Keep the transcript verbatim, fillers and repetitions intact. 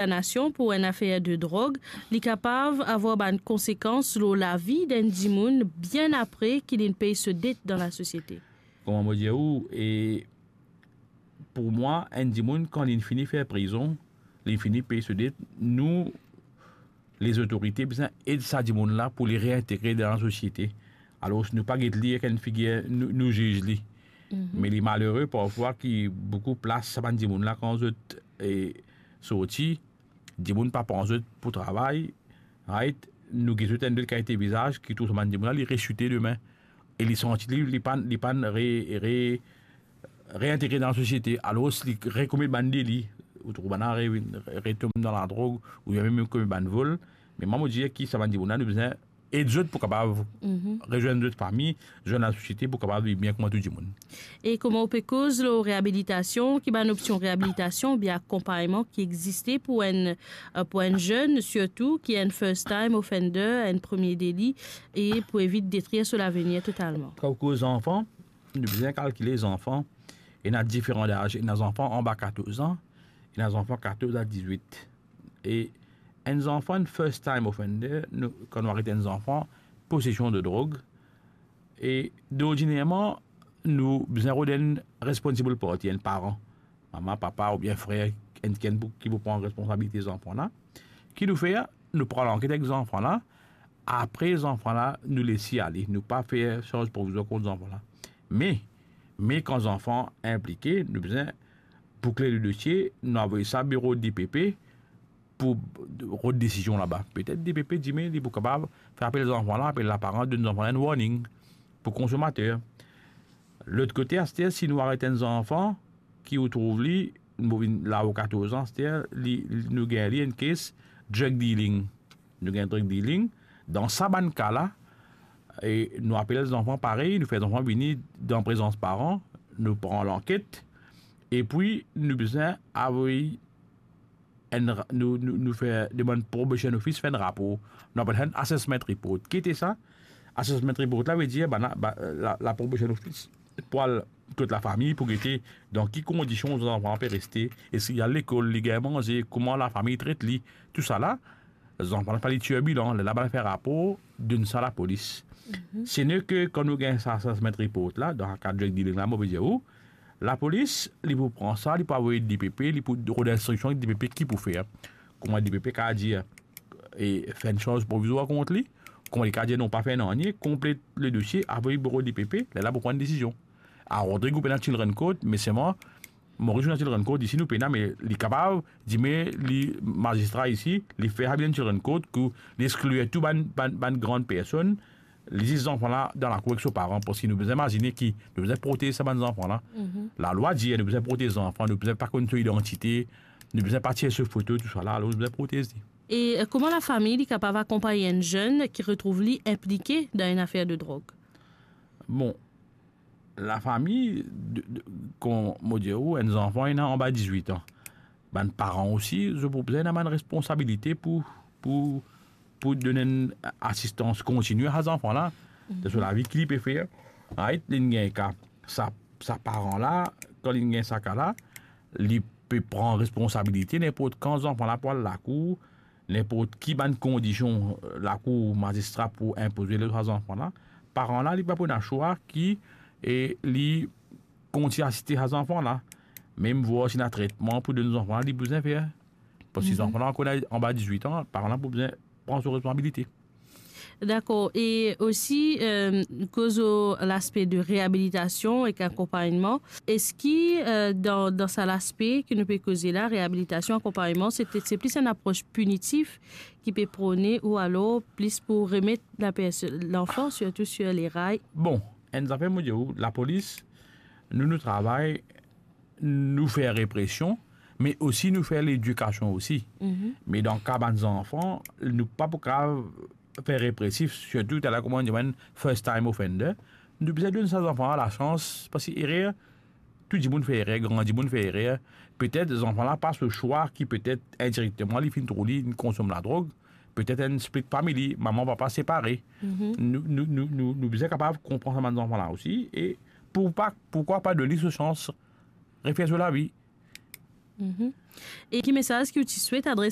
kondanasion pou enn afer de drog, li kapav avoir bann konsekans lor lavi d'enn dimoun bien apre ki linn pey so det dan lasosiete. Kouma mo dir ou, e pou mwa, enn dimoun, kan linn fini fer prizon, linn fini pey so det, nou, lezotorite bizin ed sa dimoun la pou li reintegre dan lasosiete. Alor, nou pa get li ek enn figir nou, nou ziz li. Me li malere parfwa ki boukou plas sa bann dimoun la, kan zot, e, sorti, dimoun pa pran zot pou travay, right? Nou get zot enn lot kalite vizaz ki trouv sa bann dimoun la, li resite demin. E li santi li, li pa'nn, li pa'nn re, re, reintegre dan lasosiete. Alor, li rekomet bann deli, ou trouv bann la re, retom dan ladrog, oubien mem komet bann vol. Me mwa, mo dir ki sa bann dimoun la, nou bizin ed zot pou kapav rezwenn zot fami, zwenn lasosiete pou kapav viv bien kouma tou dimoun. E kouma ou pe koz lor reabilitasion, ki bann opsion reabilitasion oubien akonpagnman ki existe pou enn, eh, pou enn zenn, sirtou ki enn first time offender, enn premie deli, e pou evit detrir so lavenir totalman? Kan ou koz zanfan, nou bizin kalkile zanfan, ena diferan laz, ena zanfan anba katorz an, ena zanfan katorz a dizwit. E enn zanfan, enn first time offender, nou, kan nou aret enn zanfan posesion de drog, e dordinarman, nou bizin rod enn responsible party, enn paran, mama, papa oubien frer, enn kikenn pou, ki pou pran responsabilite zanfan la. Ki nou fer? Nou pran lanket ek zanfan la. Apre zanfan la, nou les li ale. Nou pa fer sarz provizwar kont zanfan la. Me, me kan zanfan inplike, nou bizin boukle le dosie, nou avoy sa biro D P P, pou rod desizion laba. Petet D P P dime li pou kapav fer apel zanfan la, apel laparan, donn zanfan la enn warning pou konsomater. Lot kote, aster, si nou aret enn zanfan ki ou trouv li, mo vinn la ar katorz an, aster, li, li, nou gagn li enn kes drug dealing. Nou gagn drug dealing. Dan sa bann ka la, e nou apel zanfan parey, nou fer zanfan vini dan prezans paran, nou pran lanket, epi nou bizin avoy enn ra-, nou, nou, nou fer demann probation office fer enn rapor. Nou apel sa enn assessment report. Ki ete sa? Assessment report la vedir, bann la, ba, la, la probation office pou al kot lafami pou gete dan ki kondision zanfan pe reste, eski li al lekol, li gagn manze, kouma lafami tret li, tousala. Zanfan la pa li tirbilan, lerla bann fer rapor, donn sa lapolis. Se ne ke kan nou gagn sa assessment report la, dan ka drug dealing la, mo pe dir ou, lapolis, li pou pran sa, li pou avoy D P P, li pou rod instriksion D P P ki pou fer. Kouma D P P kapav dir, e fer enn sarz provizwar kont li, kouma li kapav dir non, pa fer nanye, konplet le dosie, avoy biro D P P, lerla pou pran enn desizion. A Rodrig ou pena children court, me selman, Moris ou ena children court, isi nou pena, me li kapav, dime li mazistra isi, li fer sa vinn enn children court, ki li exklir tou bann, bann, bann gran personn, li zis zanfan la dan lakour ek so paran, parski nou bizin imazine ki nou bizin protez sa bann zanfan la. Lalwa dir nou bizin protez zanfan, nou bizin pa konn so idantite, nou bizin pa tir so foto, tousala, alor nou bizin protez li. E, eh, kouma lafami li kapav akonpagn enn zenn ki retrouv li inplike dan enn afer de drog? Bon, lafami, de, de, kon mo dir ou, enn zanfan ena anba dizwit an. Bann paran osi, zot pou bizin ena bann responsabilite pou, pou, pou donn enn asistans kontini a sa zanfan la, dan so lavi ki li pe fer. Right, li gagn ka, sa, sa paran la, kan li gagn sa ka la, li pe pran responsabilite, ninport kan zanfan la pou al lakour, ninport ki bann kondision, eh, lakour, mazistra pou inpoze lor sa zanfan la, paran la, li pa pou ena swa ki, e, li kontign asiste sa zanfan la, mem vwar si ena tretman pou donn zanfan la, li bizin fer. Parski zanfan la ankor anba dizwit an, paran la pou bizin pran so responsabilite. Dakor. E osi, eh, koz lor laspe de reabilitasion ek akonpagnman, eski, eh, dan, dan sa laspe ki nou pe koze la, reabilitasion, akonpagnman, se, se plis enn apros pinitif ki pe prone ou alor plis pou remet laperso-, lanfan, sirtou sir leray? Bon, enn zafer mo dir ou, lapolis, nou, nou travay, nou fer represion, me osi nou fer ledikasion osi. Me dan ka bann zanfan, nou pa pou kapav fer represif, sirtou taler kouma nou dir enn first time offender. Nou bizin donn sa zanfan la lasans, parski erer, tou dimoun fer erer, gran dimoun fer erer. Petet zanfan la pa so swa ki petet indirekteman li finn trouv li, li konsom ladrog, petet enn split family, mama, papa separe. Nou, nou, nou, nou, nou bizin kapav konpran sa bann zanfan la osi, e pou pa, poukwa pa donn li so sans refer so lavi. Mhm. E ki mesaz ki ou ti swet adres